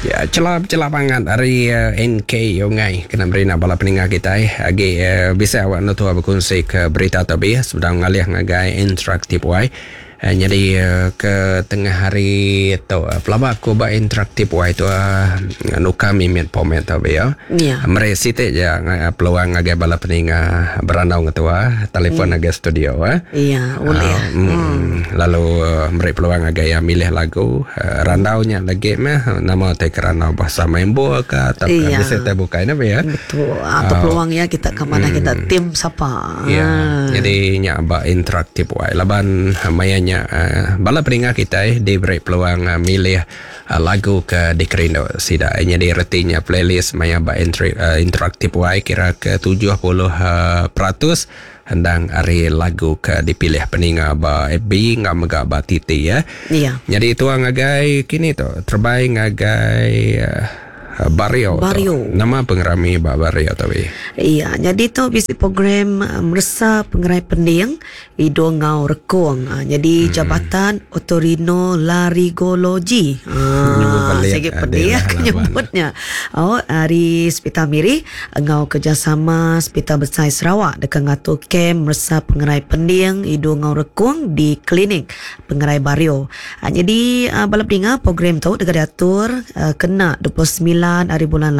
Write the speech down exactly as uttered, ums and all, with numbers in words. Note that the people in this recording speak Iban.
Ya, celap-celap banget ari uh, N K Yongai kena beri bala peninggal kita eh. Agi uh, bisa awak nutua berkongsi ke berita tabi sedang ngalih ngagai interaktif wai. Uh, jadi uh, ke tengah hari tu uh, pelaba aku ba interaktif wai tu uh, nuka mimit pomet tabi ya. Ya. Mere siti je uh, peluang ngagai bala peninga berandau ngetua telefon hmm. ngagai studio eh. Iya, boleh. Uh, mm, hmm. Lalu uh, beri peluang ngagai yang milih lagu uh, randaunya lagi meh nama te kerana bahasa membo ke atau Iya. bisa te bukai na ya. Betul. Atau peluang ya kita ke mana kita tim siapa. Ya, Ah. jadi nya ba interaktif wai. Laban uh, mayanya uh, bala peninga kita eh, diberi peluang uh, milih uh, lagu ke dikerindu sida. Eh, Jadi retinya playlist maya ba entry, uh, interaktif wai kira ke tujuh puluh uh, peratus hendang ari lagu ke dipilih peninga ba F B ngam mega ba T T ya. Iya. Jadi tuang ngagai kini tu terbaik ngagai uh, Bario. Tu. Bario. Nama pengerami ba Bario tapi. Iya, jadi tu bisi program uh, meresa pengerai pending hidung ngau rekung. Uh, jadi hmm. Jabatan Otorinolaryngology. Nyebut Ah, balik, saya ada pedih lah aku lawan. nyebutnya. Oh, hari Hospital Miri ngau kerjasama Hospital Besar Sarawak dekat ngatur kem meresa pengerai pending hidung ngau rekung di klinik pengerai Bario. Uh, jadi uh, bala peninga, program tu dekat diatur uh, kena dua puluh semilan hari bulan lapan.